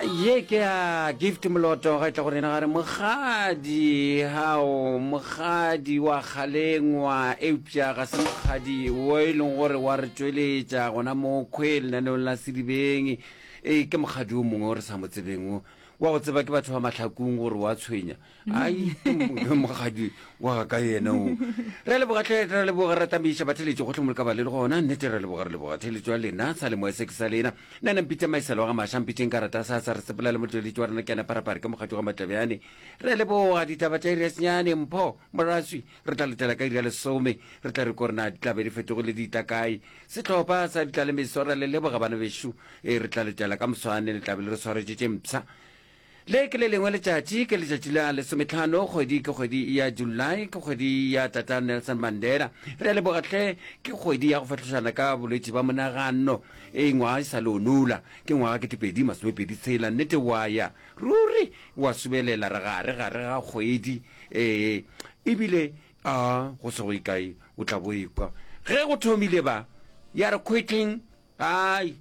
Ye ke ya Gift Moloto ga e tla go rena gare mokgadi hao mokgadi wa kgalengwa eupša ga se mokgadi wo e leng gore wa re tšweletša gona mo kgwe lenaneong la Sedibeng e ke mokgadi o mongwe o re sa mo tsebeng o wa go tseba ke batho ba mahlakong gore wa tshwenya ai ke mokgadi wa ka yena o re leboga tlhe re leboga re tamiša batheletši gohle mo le ka ba le le gona nnete re leboga re leboga theletšo ya lena sa le moya se ke sa lena nna ne mpitša maiselo wa ga maša mpitšeng karata sa sa re sepela le motšweletši wa rena ke ena parapare ke mokgadi wa matlebjane re leboga ditaba tša iri ya senyane mpho moraswi re tla letela ka iri ya lesome re tla re ko rena di tla be di fetogile di tla kae sehlopha sa ditla le meso re le leboga bana bešo e re tla letela ka moswane le tla be le re swaretše tše mpsha Le ke le lengwe letšatši, ke letšatši la lesometlhano, kgwedi ke kgwedi ya July, ke kgwedi ya Tata Nelson Mandela. Re a leboga hle, ke kgwedi ya go fahlošana ka bolwetši ba monagano. Ee, ngwaga e sa le o nula, ke ngwaga ketepedi masomepedi tshela, nnete wa ya ruri wa subelela, re gare gare ga kgwedi. Ee, ebile a go se go ikae o tla bo ekwa ge go thomile ba ya re quitting, ai.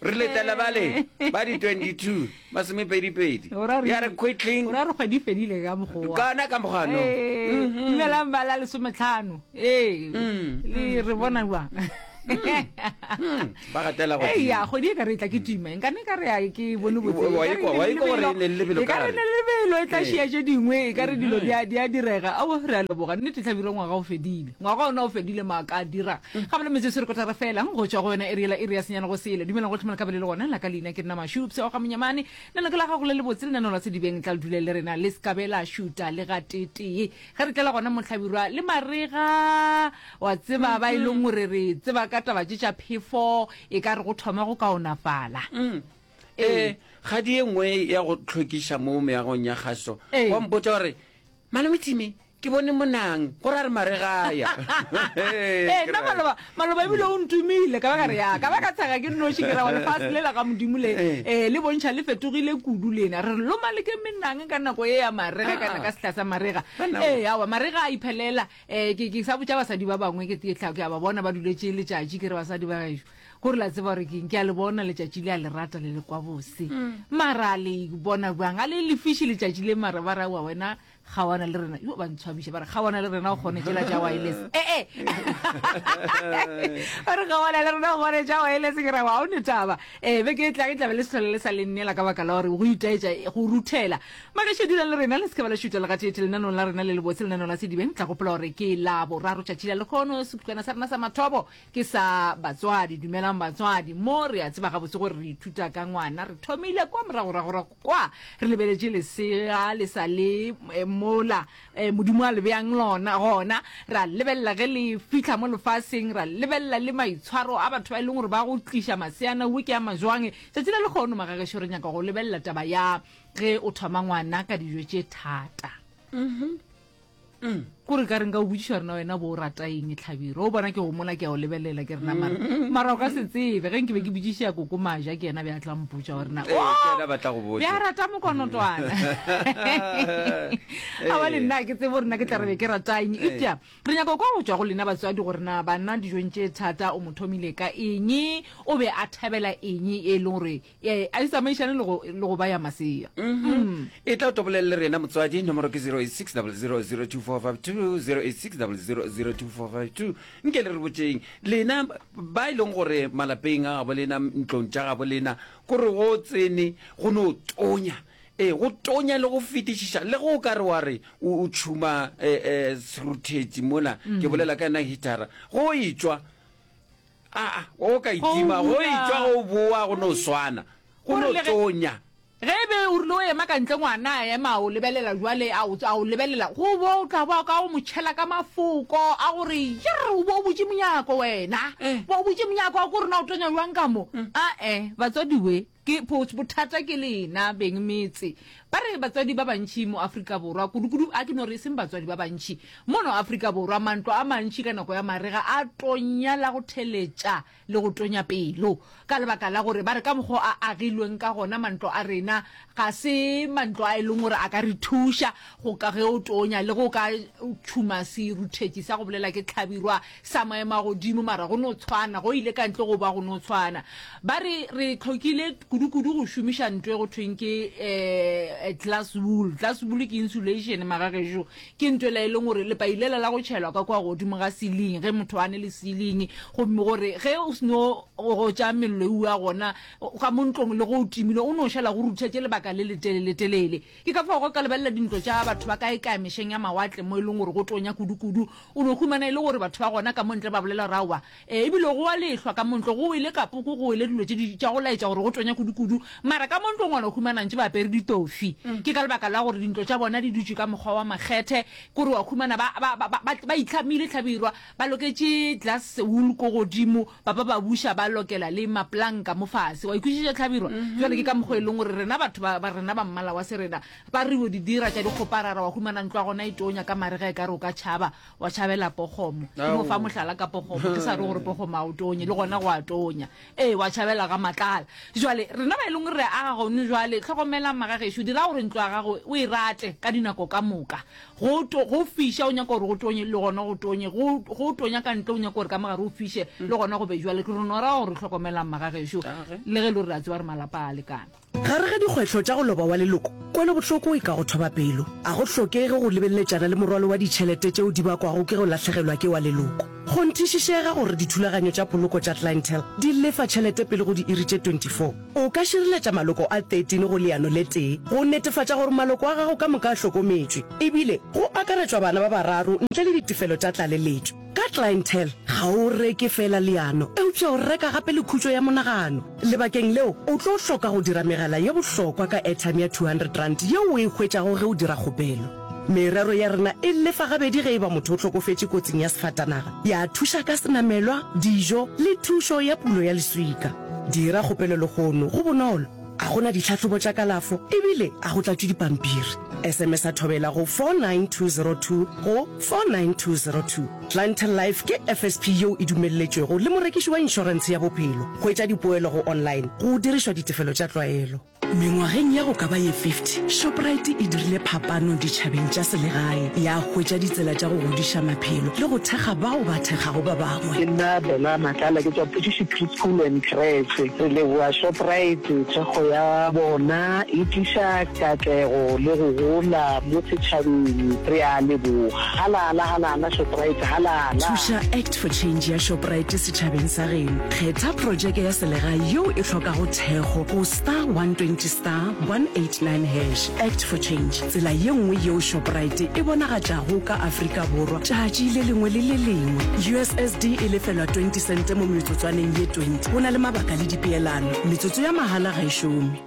re letela bale ba di 22 masomepedipedi ya re quickling ora re kgwedi fedile ka mokgowa kana ka mokgano mhm. dumelang ba la lesometlhano ee mm. le re bona jwang mm. mm. ba gatela go ya kgwedi e ka re tla ke tima nka ne ka re a ke bone botse wa ikwa wa ikwa gore ne lebelo ka re ne lebelo e tla šia tše dingwe e ka re dilo di a di a direga ao re a leboga nnete tlhabiro ngwaga o fedile ngwaga ona o fedile maaka a dira Ga bjale metsotso e re kotara fela go tšwa go yona iri yela iri ya senyane go sele. Dumelang gohle mo le ka be le le gona. La ka leina ke nna Mašupse wa ga Monyamane. Lenaneo ke la gago le lebotse, lenaneo la Sedibeng. Tla le dule le rena, le se ka be la šuta le gateetee. Ge re tlela gona mo Hlabirwa le marega, wa tseba ba e leng gore re tseba ka taba tše tša phefo, e ka re go thoma go kaonafala. Ee, kgadi ye nngwe ya go hlwekiša mo meagong ya kgaso, wa mpotša gore, Malome Timmy, Ke bone monang, go ra re maregaya. Ee, nna maloba, maloba ebile o ntumile, ka ba ka re ya, ka ba ka tshega ke nnoši, ke ra wa lefase le la ga Modimo le, eh, le bontšha le fetogile kudu lena. Re re loma le ke menang ka nako ye ya marega, kana ka sehla sa marega. Ee, aowa, marega a iphelela. Eh, ke, ke sa botša basadi ba bangwe, ke, ke tla, ke a ba bona ba duletše letšatši, ke re basadi ba gešo, gore la tseba gore keng, ke a le bona letšatši le a le rata le le kwa bose. Mara le bona bjang, a le lefiše letšatši le mara ba ra wa wena, Kgawana le rena, yo ba ntshwabiša ba re kgawana le rena o kgone tšela tša wireless. Eh eh. Ba re kgawana le rena o kgone tša wireless ke ra wa o ne taba. Eh beke e tlang e tla be le se hlole le sa le nnela ka baka la gore go itaetša go ruthela. Magešo dulang le rena le se ke ba la šuta le gateetee lenanong la rena le lebotse lenanong la Sedibeng. Tla gopola gore ke la boraro tšatši la lekgono sekhutlwana sa rena sa mathomo ke sa batswadi. Dumelang batswadi. Mo re a tseba gabotse gore re ithuta ka ngwana. Re thomile kwa moragoragorago Kwa, re lebeletše lesea le sa le mola Modimo a le beang lona gona, ra lebelela ge le fihla mo lefaseng, ra lebelela le maitshwaro a batho ba e leng gore ba go tliša maseana wo ke a majwang. Tšatši la lekgono magagešo re nyaka go lebelela taba ya ge o thoma ngwana ka dijo tše thata. Mm. Kore ka re nka o botšiša gore na wena bo o rata eng Hlabirwa. O bona ke go mola ke a o lebelela ke re na mara mara o ka se tsebe ge nke be ke botšiša koko Maja ke yena be a tla mpotša gore na Ee, ke yena ba tla go botša. be a rata mokonotwana. Aowa le nna ga ke tsebe gore na ke tla re be ke rata eng. Eupša re nyaka go kwa go tšwa go lena batswadi gore na bana dijong tše thata o mo thomile ka eng, o be a thabela eng e leng gore Ee, a di tsamaišane le go, le go ba ya masea. Mm. E tla o tobolele le rena motswadi, nomoro ke 086 0002452, 086 0002452. Nke le re botšeng, lena ba e leng gore malapeng a gabo lena, ntlong tša gabo lena, kore go tsene go no tonya. Ee, go tonya le go fetišiša, le ge o ka re wa re o tšhuma eh, eh, seruthetši mola, ke bolela ka yona hitara, go etšwa Aa, o ka itima, go etšwa go boa go no swana, go no tonya. Ge e be o rile o ema ka ntle ngwana a ema a o lebelela jwale a o a o lebelela go bo o tla ba ka o mo tšhela ka mafoko a gore yerr o bo o butše monyako wena bo o butše monyako a ko rena o tonya jwang ka mo ae batswadi we ke bothata ke lena beng metse Ba re batswadi ba bantši mo Afrika Borwa, kudukudu a ke no re e seng batswadi ba bantši, mono Afrika Borwa mantlo a mantši ka nako ya marega a tonya la go theletša le go tonya pelo ka lebaka la gore ba re ka mokgwa o a agilweng ka gona mantlo a rena ga se mantlo a e leng gore a ka re thuša go ka ge o tonya le go ka tšhuma seruthetši sa go bolela ke hlabirwa sa maemo a godimo mara go no tshwana go ile ka ntle go ba go no tshwana. Ba re re hlokile. Kudu-kudu go šomiša nto e go thweng ke um glass wool. Glass wool ke insulation magagešo. Ke nto ela e leng gore lepai lela la go tšhelwa ka kua godimo ga ceiling ge motho a ne le ceiling, gomme gore ge o seno gotša mello eua gona ka mo ntlong le ge o timile o no šala go ruthetše lebaka le leteleletelele. Ke ka fao ge o ka lebelela dintlo tša batho ba kaekae mešeng ya mawatle mo e leng gore go tonya kudu-kudu, o no humana e le gore batho ba gona ka mo ntle ba bolela gore aowa, e bile go a lehlwa ka mo ntlo, go wele kapoko, go wele dilo tše di tša go laetša gore go tonya kudu-kudu. Mara ka mo ntlong wa no humana ntše ba apere ditofi. Ke ka lebaka la gore dintlo tša bona di dutše ka mokgwa wa makgethe, ke gore wa humana ba, ba, ba, ba, ba itlhamile hlabirwa, ba loketše glass wool ko godimo, ba ba ba buša ba lokela le mapolanka mo fase. Wa ikwešiša hlabirwa? Bjale ke ka mokgwa e leng gore rena batho ba, ba rena ba mmala wa serena ba re yo di dira tša dikgoparara, wa humana ntlo ya gona e tonya ka marega e ka re o ka tšhaba, wa tšhabela pokgomo. Ke no fa mohlala ka pokgomo, ke sa re gore pokgomo a o tonye, le gona go a tonya. Ee, wa tšhabela ga matlala. Jwale, rena ba e leng gore re aga gone jwale, hlokomelang magagešo, dira gore ntlo ya gago o e rate ka dinako ka moka. Go to, go fiša o nyaka gore go tonye, le gona go tonye. Go, go tonya ka ntle o nyaka gore ka mogare o fiše, le gona go be jwale. Ke re no ra gore hlokomelang magagešo, le ge e le gore re a tseba gore malapa a a lekana. Gare ga dikgwetlho tša go loba wa leloko, kwelobohloko e ka go thoba pelo. A go hlokege go lebeletšana le morwalo wa ditšhelete tšeo di bakwago ke go lahlegelwa ke wa leloko. Kgonthišišega gore dithulaganyo tša poloko tša Clientele di lefa tšhelete pele go diiri tše 24. O ka šireletša maloko a 13 go leano le tee go netefatša gore maloko a gago ka moka a hlokometšwe, ebile go akaretšwa bana ba bararo ntle le ditefelo tša tlaleletšo. Ka Clientele, ga o reke feela leano, eupša o reka gape le khutšo ya monagano. Lebakeng leo, o tlo hloka go dira megala ye bohlokwa ka airtime ya R200 yeo o e hwetšago ge o dira kgopelo. Merero ya rena e lefa gabedi ge e ba motho o hlokofetše kotsing ya sefatanaga, ya thuša ka senamelwa, dijo le thušo ya pulo ya leswika. Dira kgopelo lehono, go bonolo. A go na ditlhahlobo tša kalafo ebile a go tlatšwe dipampiri. SMS-a Thobela go 49202 go 49202. Clientele Life ke FSP yeo e dumelletšwego le morekiši wa inšorentshe ya bophelo. Hwetša dipoelo go online go dirišwa ditefelo tša tlwaelo. Mengwageng ya go ka ba ye 50, Shoprite e dirile phapano ditšhabeng tša selegae, ya hwetša ditsela tša go godiša maphelo le go thekga bao ba thekgago ba bangwe. Ke nna Bella Matlala, ke tšwa Phudiši Preschool and Creche. Re leboga Shoprite, thekgo ya bona e tliša katlego le go gola mo setšhabeng. Re a leboga. Halala, halala Shoprite, halala! Thuša Act for Change ya Shoprite setšhabeng sa geno. Kgetha projeke ya selegae yeo e hlokago thekgo go star 120 star 189 hash. Act for Change, tsela ye nngwe yeo Shoprite e bonagatšago ka Afrika Borwa tšatši le lengwe le le lengwe. USSD e lefelwa 20 sente mo metsotswaneng ye 20. Go na le mabaka le dipeelano. Metsotso ya mahala ga e šome.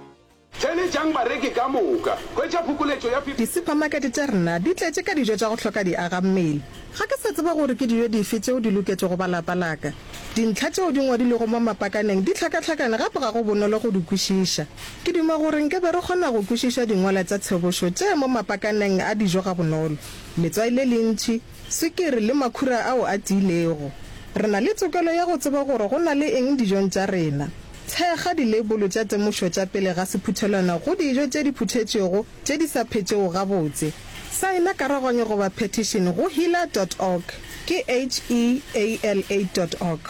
Theeletšang bareki ka moka. Hwetša phokoletšo ya 50. Disuphamakete tša rena di tletše ka dijo tša go hloka diagammele. Ga ke sa tseba gore ke dijo dife tšeo di loketšego ba lapa la ka. Dintlha tšeo di ngwadilwego mo mapakaneng di hlakahlakane gape ga go bonolo go di kwešiša. Ke duma gore nke be re kgona go kwešiša dingwalwa tša tshebošo tše mo mapakaneng a dijo gabonolo. Letswai le lentši, swikiri le makhura ao a tiilego. Re na le tokelo ya go tseba gore go na le eng dijong tša rena. Thekga dileibolo tša temošo tša pele ga sephuthelwana go dijo tše di phuthetšwego tše di sa phetšego gabotse. Saena karoganyo goba phetišene go heala dot org, ke H-E-A-L-A dot org.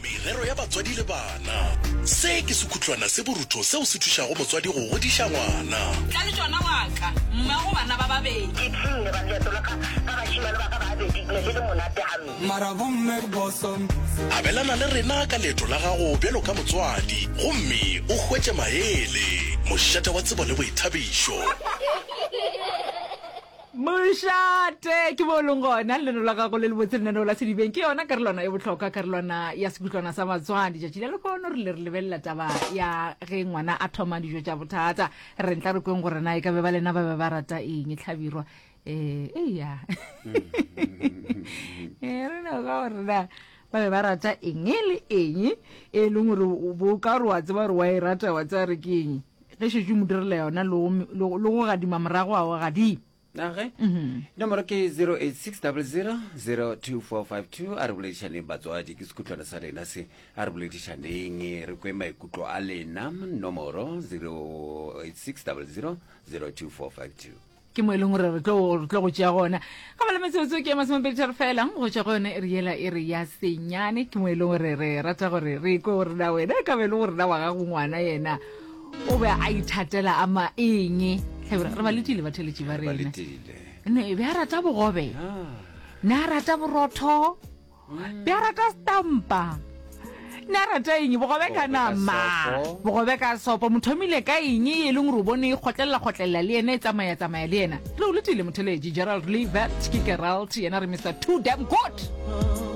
Merero ya batswadi le bana. Se ke sekhutlwana se borutho seo se thušago motswadi go godiša ngwana. Tla le tšona wa ka, mmago bana ba babedi. Ke ipshinne ba leeto la ka ka bašemane ba ka ba babedi, ne le le monate gampe. Mara bomme ke boso. Abelana le rena ka leeto la gago bjalo ka motswadi gomme o hwetše maele. Mošate wa tsebo le boithabišo. Mošate ke mo o leng gona lenaneo la gago le le botse lenaneo la sedibeng ke yona karolwana e bohlokwa karolwana ya sekutlwana sa batswadi tšatši la lehono re le re lebelela taba ya ge ngwana a thoma dijo tša bothata re ntla re kweng gore na e ka be ba lena ba be ba rata eng hlabirwa um eya eh, re no ka gore na ba be ba rata eng le eng e leng gore bo ka gore wa tseba gore wa e rata wa tseba re ke eng Ge šetše o mo direla yona le go, le go gadima morago a o gadima. Age nomoro ke 0860002452 a re boledišaneng batswadi ke sekhutlwana sa lena se a re boledišaneng re kwe maikutlo a lena nomoro 0860002452. Ke mo e leng gore re tlo re tlo go tšea gona. Ga ba le metsotso ke masomepeditharo fela go tšwa go yone e re yela e re ya senyane. Ke mo e leng gore re rata gore re kwe gore na wena e ka be e le gore na wa gago ngwana yena o be a ithatela a ma eng. Hlabirwa, re ba letile batheletši ba Ba rena. letile. Ne be a rata bogobe. Ne a rata borotho. Be a rata stampa. Ne a rata eng? Bogobe ka nama. Bogobe ka sopo. Mo thomile ka eng e leng gore o bone e kgotlelela kgotlelela le yena e tsamaya tsamaya le yena. Re o letile motheletši Gerald Levert ke Gerald yena re Mister Too Damn Good.